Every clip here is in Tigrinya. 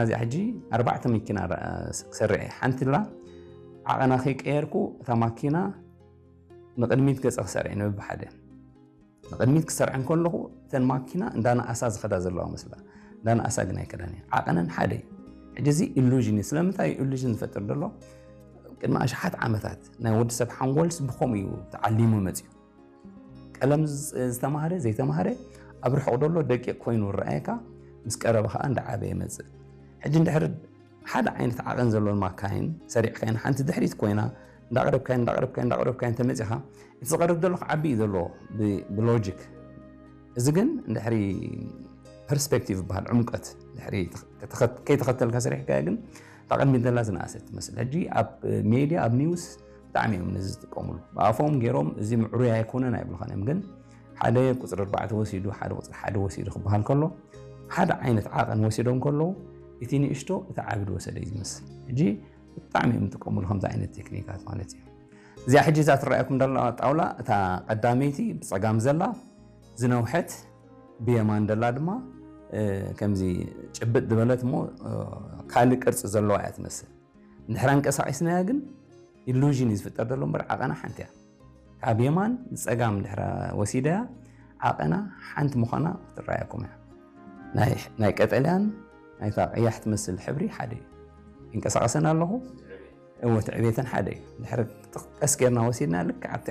እዚኣ ሕጂ ኣርባዕተ መኪና ክሰርዕ እየ። ሓንቲ ላ ዓቐና ከይቀየርኩ እታ ማኪና ንቕድሚት ገጸ ክሰርዕ እየ ንብብሓደ። ንቕድሚት ክሰርዐን ከለኹ እተን ማኪና እንዳነኣሳ ዝኸዳ ዘለዋ መስላ፣ እንዳነኣሳ ግን ኣይከዳን እየ። ዓቐነን ሓደ እዩ። ሕጂ እዚ ኢሉዥን እዩ። ስለምንታይ እዩ ኢሉዥን ዝፈጥር ዘሎ? ቅድሚ ኣሽሓት ዓመታት ናይ ወዲ ሰብ ሓንጎልስ ብኸምኡ እዩ ተዓሊሙ መፅዩ። ቀለም ዝተማህረ ዘይተማህረ ኣብ ርሑቕ ደሎ ደቂቕ ኮይኑ ረኣየካ፣ ምስ ቀረበ ከዓ እንዳዓበየ መፅእ። ሕጂ እንድሕር ሓደ ዓይነት ዓቐን ዘለዎን ማካይን ሰሪዕካይን ሓንቲ ድሕሪት ኮይና እንዳቕረብካይን እንዳቕረብካይን እንዳቕረብካይን ተመፂኻ፣ እቲ ዝቐርብ ዘሎ ክዓቢ እዩ ዘለዎ ብሎጂክ። እዚ ግን እንድሕሪ ፐርስፔክቲቭ ይበሃል፣ ዕምቀት ድሕሪ ከይተኸተልካ ሰሪሕካዮ ግን እታ ቅድሚት ዘላ ዝነኣሰት ትመስል። ሕጂ ኣብ ሜድያ ኣብ ኒውስ ብጣዕሚ እዮም ነዚ ዝጥቀምሉ። ብኣፎም ገይሮም እዚ ምዕሩይ ኣይኮነን ኣይብልኻን እዮም፣ ግን ሓደ ቁፅሪ ኣርባዕተ ወሲዱ ሓደ ቁፅሪ ሓደ ወሲዱ ክበሃል ከሎ ሓደ ዓይነት ዓቐን ወሲዶም ከለዉ እቲ ንእሽቶ እቲ ዓቢ ዝወሰደ እዩ ዝመስል። ሕጂ ብጣዕሚ እዮም ዝጥቀምሉ ከምዚ ዓይነት ቴክኒካት ማለት እዩ። እዚኣ ሕጂ እዛ ትረኣየኩም ዘላ ጣውላ እታ ቀዳመይቲ ብፀጋም ዘላ ዝነውሐት ብየማን ዘላ ድማ ከምዚ ጭብጥ ዝበለት እሞ ካልእ ቅርፂ ዘለዋ እያ ትመስል። እንድሕር ኣንቀሳቒስናያ ግን ኢሉዥን እዩ ዝፍጠር ዘሎ እምበር ዓቐና ሓንቲ እያ። ካብ የማን ንፀጋም እንድሕር ወሲደያ ዓቐና ሓንቲ ምዃና ክትረኣየኩም እያ። ናይ ቀጠልያን ናይታ ቀያሕ ትመስል ሕብሪ ሓደ እዩ። ይንቀሳቐሰን ኣለኹ እወ ትዕቤተን ሓደ እዩ። ድሕሪ ቀስ ጌርና ወሲድና ልክዕ ኣብቲ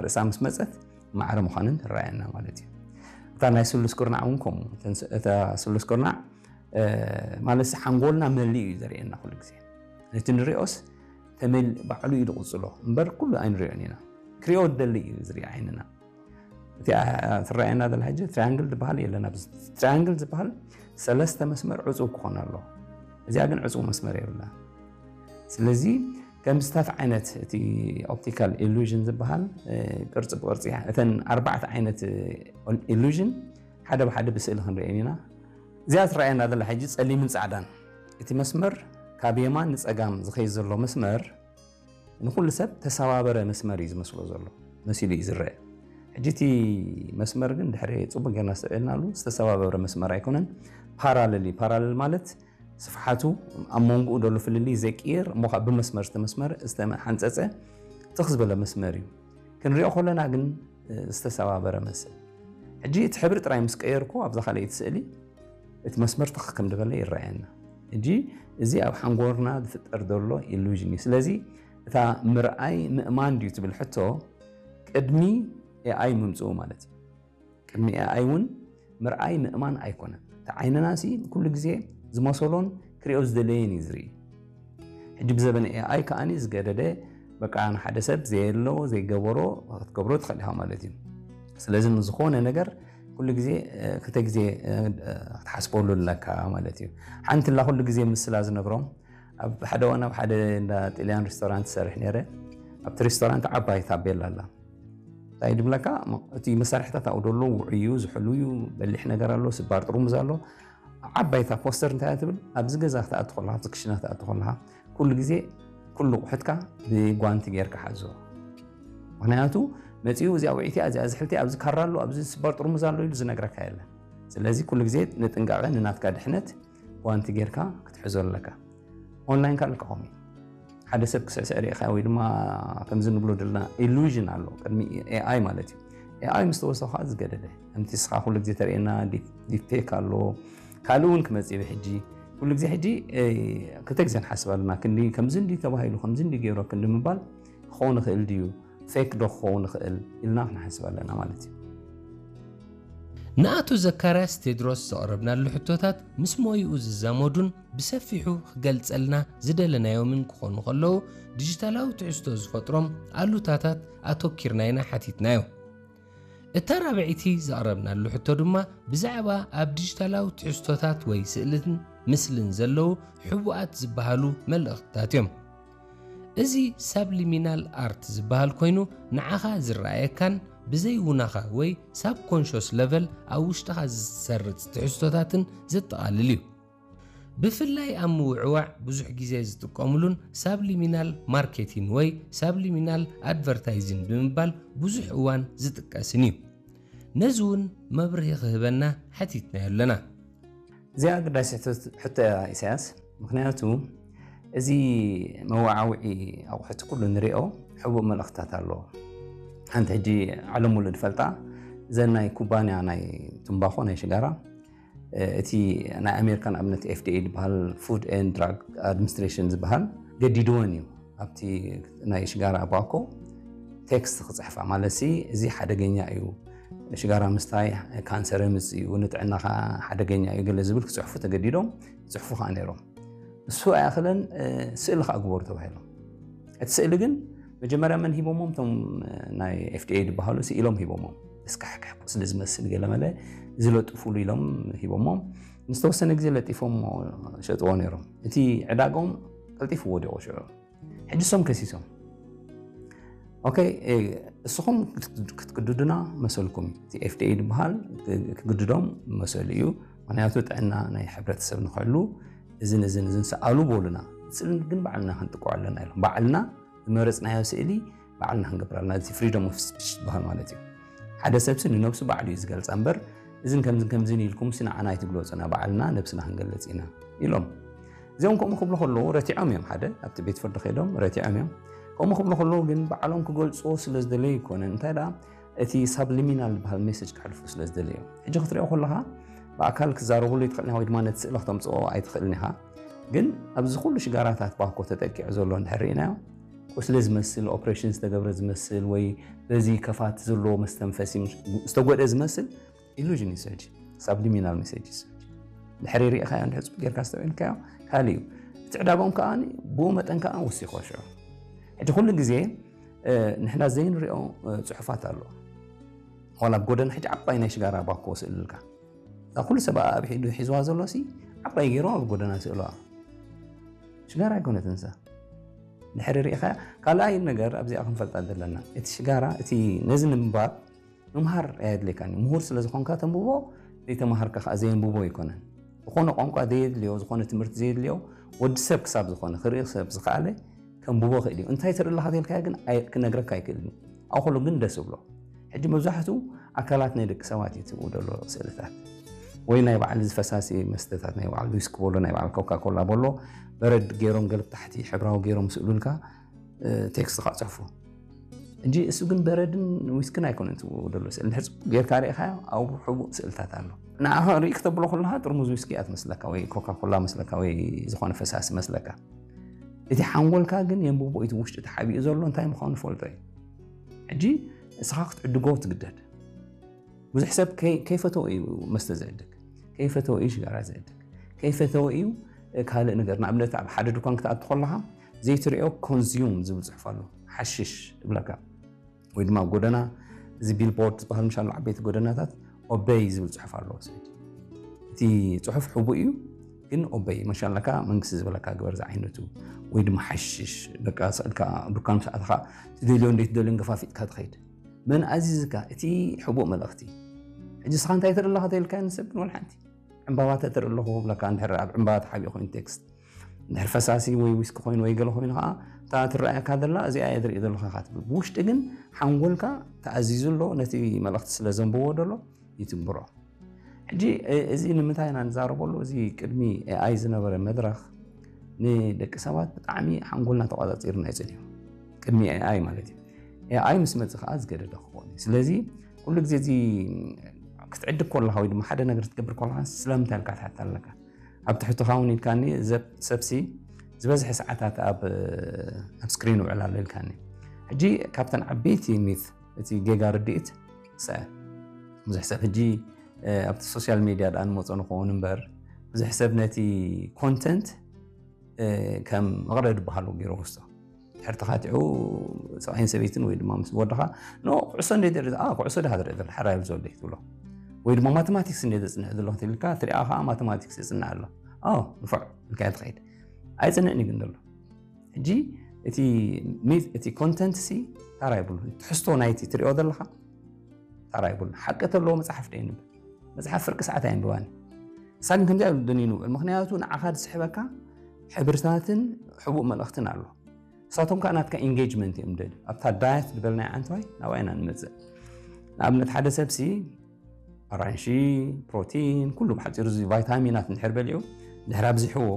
ርእሳ ምስ መፀት ማዕረ ምዃንን ትረኣየና ማለት እዩ። እታ ናይ ስሉስ ኩርናዕ እውን ከምኡ እታ ስሉስ ኩርናዕ ማለት ሓንጎልና መሊኡ እዩ ዘርእየና ኩሉ ግዜ። ነቲ ንሪኦስ ባዕሉ እዩ ዝቕፅሎ እምበር ኩሉ ኣይንሪኦን ኢና። ክሪኦ ደሊ እዩ ዝርኢ ዓይንና። እቲኣ ትረኣየና ዘላ ሕጂ ትሪያንግል ዝበሃል የለን። ኣብዚ ትሪያንግል ዝበሃል ሰለስተ መስመር ዕፁብ ክኾን ኣለዎ። እዚኣ ግን ዕፁብ መስመር የብላ። ስለዚ ከምዚታት ዓይነት እቲ ኦፕቲካል ኢሉዥን ዝበሃል ቅርፂ ብቅርፂ እተን ኣርባዕተ ዓይነት ኢሉዥን ሓደ ብሓደ ብስእሊ ክንሪአን ኢና። እዚኣ ትረኣየና ዘላ ሕጂ ጸሊምን ጻዕዳን እቲ መስመር ካብ የማን ንጸጋም ዝኸይድ ዘሎ መስመር ንኹሉ ሰብ ተሰባበረ መስመር እዩ ዝመስሎ ዘሎ መሲሉ እዩ ዝረአ። ሕጂ እቲ መስመር ግን ድሕሪ ጽቡቅ ጌርና ኣስተውዒልናሉ ዝተሰባበረ መስመር ኣይኮነን፣ ፓራለል እዩ። ፓራለል ማለት ስፍሓቱ ኣብ መንጎኡ ዘሎ ፍልልይ ዘይቅየር እሞ ከዓ ብመስመር ዝተመስመረ ዝተሓንጸጸ ትኽ ዝበለ መስመር እዩ። ክንሪኦ ከለና ግን ዝተሰባበረ መስል። ሕጂ እቲ ሕብሪ ጥራይ ምስ ቀየርኩ ኣብዛ ካልኣይቲ ስእሊ እቲ መስመር ትኽ ከም ዝበለ ይረኣየና። ሕጂ እዚ ኣብ ሓንጎርና ዝፍጠር ዘሎ ኢሉዥን እዩ። ስለዚ እታ ምርኣይ ምእማን ድዩ ትብል ሕቶ ቅድሚ ኤኣይ ምምፅኡ ማለት እዩ። ቅድሚ ኤኣይ እውን ምርኣይ ምእማን ኣይኮነን። እቲ ዓይንና ሲ ኩሉ ግዜ ዝመሰሎን ክሪኦ ዝደለየን እዩ ዝርኢ። ሕጂ ብዘበነ ኤኣይ ከኣኒ ዝገደደ በቃ ንሓደ ሰብ ዘየሎ ዘይገበሮ ክትገብሮ ትኽእል ኢኻ ማለት እዩ። ስለዚ ንዝኾነ ነገር ኩሉ ግዜ ክልተ ግዜ ክትሓስበሉ ኣለካ ማለት እዩ። ሓንቲ ላ ኩሉ ግዜ ምስላ ዝነግሮም ኣብ ሓደ ዋና ኣብ ሓደ እንዳ ጥልያን ሬስቶራንት ሰርሕ ነይረ። ኣብቲ ሬስቶራንት ዓባይ ታቤላ ኣላ። እንታይ ድብለካ እቲ መሳርሕታት ኣብኡ ደሎ ውዑይ እዩ፣ ዝሕሉ እዩ፣ በሊሕ ነገር ኣሎ፣ ስባር ጥርሙዝ ኣሎ። ዓባይታ ፖስተር እንታይ ትብል? ኣብዚ ገዛ ክትኣቱ ከለኻ፣ ኣብዚ ክሽና ክትኣቱ ከለኻ ኩሉ ግዜ ኩሉ ኣቑሑትካ ብጓንቲ ጌርካ ሓዞ። ምክንያቱ መፂኡ እዚኣ ውዒቲ እያ፣ እዚኣ ዝሕልቲ ኣብዚ ካራ ኣሎ፣ ኣብዚ ስባር ጥርሙዝ ኣሎ ኢሉ ዝነግረካ የለን። ስለዚ ኩሉ ግዜ ንጥንቃቐ ንናትካ ድሕነት ጓንቲ ጌርካ ክትሕዞ ኣለካ። ኦንላይን ካልእ ከኸም እዩ ሓደ ሰብ ክስዕስዕ ርኢኻ ወይ ድማ ከምዚ ንብሎ ዘለና ኢሉዥን ኣሎ ቅድሚ ኤኣይ ማለት እዩ። ኤኣይ ምስ ተወሰኸ ዝገደደ ከምቲ ስኻ ኩሉ ግዜ ተርእየና ዲፕፌክ ኣሎ ካልእ እውን ክመፅእ እዩ። ሕጂ ኩሉ ግዜ ሕጂ ክልተ ግዜ ንሓስብ ኣለና። ክንዲ ከምዚ እንዲ ተባሂሉ ከምዚ እንዲ ገይሮ ክንዲ ምባል ክኸውን ይኽእል ድዩ ፌክ ዶ ክኸውን ይኽእል ኢልና ክንሓስብ ኣለና ማለት እዩ። ንኣቶ ዘካርያስ ቴድሮስ ዘቕረብናሉ ሕቶታት ምስ ሞይኡ ዝዛመዱን ብሰፊሑ ክገልጸልና ዝደለናዮምን ክኾኑ ከለዉ ዲጂታላዊ ትሕዝቶ ዝፈጥሮም ኣሉታታት ኣተኪርና ኢና ሓቲትናዮ። እታ ራብዐይቲ ዘቕረብናሉ ሕቶ ድማ ብዛዕባ ኣብ ዲጂታላዊ ትሕዝቶታት ወይ ስእልን ምስልን ዘለዉ ሕቡኣት ዝበሃሉ መልእኽትታት እዮም። እዚ ሳብሊሚናል ኣርት ዝበሃል ኮይኑ ንዓኻ ዝረኣየካን ብዘይውናኻ ወይ ሳብኮንሾስ ለቨል ኣብ ውሽጥኻ ዝሰርጽ ትሕዝቶታትን ዘጠቓልል እዩ። ብፍላይ ኣብ ምውዕዋዕ ብዙሕ ግዜ ዝጥቀምሉን ሳብሊሚናል ማርኬቲን ወይ ሳብሊሚናል ኣድቨርታይዚን ብምባል ብዙሕ እዋን ዝጥቀስን እዩ። ነዚ እውን መብርሂ ክህበና ሓቲትናዮ ኣለና። እዚኣ ግዳይ ሕቶ እያ ኢሳያስ። ምክንያቱ እዚ መወዓውዒ ኣቑሑት ኩሉ ንሪኦ ሕቡእ መልእኽትታት ኣለዎ። ሓንቲ ሕጂ ዓለም ሙሉእ ዝፈልጣ እዘን ናይ ኩባንያ ናይ ትምባኾ ናይ ሽጋራ እቲ ናይ ኣሜሪካን ኣብነት ኤፍዲኤ ዝበሃል ፉድ ኤንድ ድራግ ኣድሚኒስትሬሽን ዝበሃል ገዲድወን እዩ። ኣብቲ ናይ ሽጋራ ባኮ ቴክስት ክፅሕፋ ማለት ሲ እዚ ሓደገኛ እዩ፣ ሽጋራ ምስታይ ካንሰር የምፅእ እዩ፣ ንጥዕናኻ ሓደገኛ እዩ ገለ ዝብል ክፅሕፉ ተገዲዶም ይፅሕፉ ከዓ ነይሮም። እሱ ኣይኣኽለን፣ ስእሊ ከዓ ግበሩ ተባሂሎም። እቲ ስእሊ ግን መጀመርያ መን ሂቦሞም? እቶም ናይ ኤፍዲኤ ዝበሃሉ ስኢሎም ሂቦሞም። እስካሕካሕ ቁስሊ ዝመስል ገለ መለ ዝለጥፉሉ ኢሎም ሂቦሞም። ንዝተወሰነ ግዜ ለጢፎም ሸጥዎ ነይሮም። እቲ ዕዳጋኦም ቀልጢፉ ወዲቑ ሽዑ። ሕጂ እሶም ከሲሶም። ኦኬ፣ እስኹም ክትግድዱና መሰልኩም እዩ። እቲ ኤፍዲኤ ዝበሃል ክግድዶም መሰሉ እዩ። ምክንያቱ ጥዕና ናይ ሕብረተሰብ ንክሕሉ እዝን እዝን እዝን ሰኣሉ በሉና። ስእሊ ግን ባዕልና ክንጥቅዖ ኣለና ኢሎም። ባዕልና ዝመረፅናዮ ስእሊ ባዕልና ክንገብር ኣለና። እዚ ፍሪደም ኦፍ ስፒች ዝበሃል ማለት እዩ። ሓደ ሰብሲ ንነብሱ ባዕሉ እዩ ዝገልፃ እምበር እዝን ከምዝን ከምዝን ኢልኩም ሲ ንዓና ኣይትግለፁና፣ ባዕልና ነብስና ክንገልፅ ኢና ኢሎም። እዚኦም ከምኡ ክብሉ ከለዉ ረቲዖም እዮም። ሓደ ኣብቲ ቤት ፍርዲ ከይዶም ረቲዖም እዮም። ከምኡ ክብሉ ከለዉ ግን ባዕሎም ክገልፅዎ ስለ ዝደለዩ ይኮነ፣ እንታይ ደኣ እቲ ሳብሊሚናል ዝበሃል ሜሴጅ ከሕልፉ ስለ ዝደለዩ እዮም። ሕጂ ክትሪኦ ከለኻ ብኣካል ክዛረብሉ ይትኽእል ኢኻ ወይ ድማ ነቲ ስእሊ ክተምፅኦ ኣይትኽእልን ኢኻ። ግን ኣብዚ ኩሉ ሽጋራታት ባኮ ተጠቂዑ ዘሎ እንድሕር ርኢናዮ ቁስሊ ዝመስል ኦፕሬሽን ዝተገብረ ዝመስል ወይ በዚ ከፋት ዘለዎ መስተንፈሲ ዝተጎድአ ዝመስል ኢሉዥን እዩ ሕጂ። ሳብሊሚናል ሜሴጅ ድሕሪ ርኢኻዮ እንድሕር ፅቡቅ ጌርካ ዝተውዒልካዮ ካልእ እዩ። እቲ ዕዳጋኦም ከዓ ብኡ መጠን ከዓ ወሲኾ ሽዑ። ሕጂ ኩሉ ግዜ ንሕና ዘይንሪኦ ፅሑፋት ኣሎ። ዋላ ኣብ ጎደና ሕጂ ዓባይ ናይ ሽጋራ ባኮ ስእልልካ እዛ ኩሉ ሰብ ኣብ ኢዱ ሒዝዋ ዘሎ ሲ ዓባይ ገይሮም ኣብ ጎደና ስእልዋ። ሽጋራ ኣይኮነትን እዛ። ድሕሪ ርኢኻ ካልኣይ ነገር ኣብዚኣ ክንፈልጣ ዘለና እቲ ሽጋራ እቲ ነዚ ንምንባብ ምምሃር ኣየድልየካን እዩ። ምሁር ስለ ዝኾንካ ተንብቦ፣ ዘይተማሃርካ ከዓ ዘየንብቦ ኣይኮነን። ዝኾነ ቋንቋ ዘየድልዮ፣ ዝኾነ ትምህርቲ ዘየድልዮ ወዲ ሰብ ክሳብ ዝኾነ ክርኢ ሰብ ዝኸኣለ ከንብቦ ክእል እዩ። እንታይ ትርኢ ኣለኻ ተልካዮ ግን ኣይ- ክነግረካ ኣይክእልን እዩ። ኣብኡ ከሎ ግን ደስ ብሎ። ሕጂ መብዛሕትኡ ኣካላት ናይ ደቂ ሰባት እዩ ትብኡ ዘሎ ስእልታት ወይ ናይ ባዕል እዚ ፈሳሲ መስተታት ናይ ባዕል ዊስኪ በሎ ናይ ባዕል ኮካ ኮላ በሎ በረድ ገይሮም ገለ ታሕቲ ሕብራዊ ገይሮም ስእሉልካ ቴክስት ከዓ ፅሕፉ እንጂ እሱ ግን በረድን ዊስክን ኣይኮነን ትብኡ ዘሎ ስእል። እንድሕር ፅቡቅ ጌርካ ርኢኻዮ ኣብኡ ሕቡእ ስእልታት ኣሎ። ንዓኻ ርኢ ክተብሎ ከለኻ ጥርሙዝ ዊስኪ እያ ትመስለካ ወይ ኮካ ኮላ መስለካ ወይ ዝኾነ ፈሳሲ መስለካ። እቲ ሓንጎልካ ግን የንብቦ እዩ። እቲ ውሽጢ ተሓቢኡ ዘሎ እንታይ ምዃኑ ይፈልጦ እዩ። ሕጂ እስኻ ክትዕድጎ ትግደድ። ብዙሕ ሰብ ከይ- ከይፈተወ እዩ መስተ ዝዕድግ፣ ከይፈተወ እዩ ሽጋራ ዝዕድግ፣ ከይፈተወ እዩ ካልእ ነገር። ንኣብነት ኣብ ሓደ ድኳን ክትኣቱ ከለኻ ዘይትሪኦ ኮንዝዩም ዝብል ፅሑፍ ኣሎ። ሓሽሽ ይብለካ። ወይ ድማ ኣብ ጎደና እዚ ቢልቦርድ ዝበሃል ምሻሎ ዓበይቲ ጎደናታት ኦበይ ዝብል ፅሑፍ ኣለዎ። እቲ ፅሑፍ ሕቡእ እዩ ግን ኦበይ መሻለካ መንግስቲ ዝበለካ ግበር ዝዓይነቱ ወይ ድማ ሓሽሽ በቃ ስዕልካ ዱካን ምስ ኣተኻ ትደልዮ እንደ ትደልዮ ገፋፊጥካ ትኸይድ። መን ኣዚዝካ? እቲ ሕቡእ መልእኽቲ። ሕጂ ስኻ እንታይ ትርኢ ኣለኻ ተልካ ንሰብ ግን ወላ ሓንቲ ዕምባባ ተትርኢ ኣለኹ ብለካ እንድሕር ኣብ ዕምባባ ተሓቢኡ ኮይኑ ቴክስት እንድሕር ፈሳሲ ወይ ዊስኪ ኮይኑ ወይ ገለ ኮይኑ ከዓ እታ ትረኣየካ ዘላ እዚኣ እየ ዝርኢ ዘለኹ ኢኻ ትብል። ብውሽጢ ግን ሓንጎልካ ተኣዚዙ ኣሎ ነቲ መልእኽቲ ስለ ዘንብቦ ደሎ ይትግብሮ። ሕጂ እዚ ንምንታይ ኢና ንዛረበሉ? እዚ ቅድሚ ኤኣይ ዝነበረ መድረኽ ንደቂ ሰባት ብጣዕሚ ሓንጎልና ተቋፃፂርና እዩ ፅንሑ። ቅድሚ ኤኣይ ማለት እዩ። ኤኣይ ምስ መፅእ ከዓ ዝገደደ ክኸውን እዩ። ስለዚ ኩሉ ግዜ እዚ ክትዕድግ ከለካ ወይ ድማ ሓደ ነገር ክትገብር ከለካ ስለምንታይ ኢልካ ትሓታ ኣለካ። ኣብ ትሕትኻ እውን ኢልካኒ ሰብ- ሰብሲ ዝበዝሐ ሰዓታት ኣብ ኣብ ስክሪን ውዕል ኣሎ ኢልካኒ። ሕጂ ካብተን ዓበይቲ ሚት እቲ ጌጋ ርድኢት ሰ ብዙሕ ሰብ ሕጂ ኣብቲ ሶሻል ሚድያ ደኣ ንመፆ ንኸውን እምበር ብዙሕ ሰብ ነቲ ኮንተንት ከም መቕረዲ በሃሉ ገይሩ ወስዶ ድሕር ተኻቲዑ ሰብኣይን ሰበይትን ወይ ድማ ምስ ወድኻ ኖ ኩዕሶ እንደ ትርኢ ኣ ኩዕሶ ድኻ ትርኢ ዘሎ ሓራይ ዘሎ ትብሎ ወይ ድማ ማቴማቲክስ እንደ ዘፅንዕ ዘሎ ክትልካ ትሪኣ ከዓ ማቴማቲክስ ይፅንዕ ኣሎ ኣዎ ንፉዕ ኢልካ ትኸይድ ኣይፅንዕን እዩ ግን ዘሎ ሕጂ እቲ እቲ ኮንተንት ሲ ታራ ይብሉ ትሕዝቶ ናይቲ ትሪኦ ዘለኻ ታራ ይብሉ ሓቂ ተለዎ መፅሓፍ ደይንብል መፅሓፍ ፍርቂ ሰዓት ኣየንብባን እሳ ግን ከምዚኣ ደኒኑ ውዕል ምክንያቱ ንዓኻ ዝስሕበካ ሕብርታትን ሕቡእ መልእኽትን ኣሎ እሳቶም ከዓ ናትካ ኢንጌጅመንት እዮም ደል ኣብታ ዳያት ዝበልናይ ዓንተዋይ ናብኣ ኢና ንመፅእ ንኣብነት ሓደ ሰብሲ ኣራንሺ፣ ፕሮቲን፣ ኩሉ ብሓፂሩ እዚ ቫይታሚናት እንድሕር በሊዑ ድሕር ኣብዚሕዎ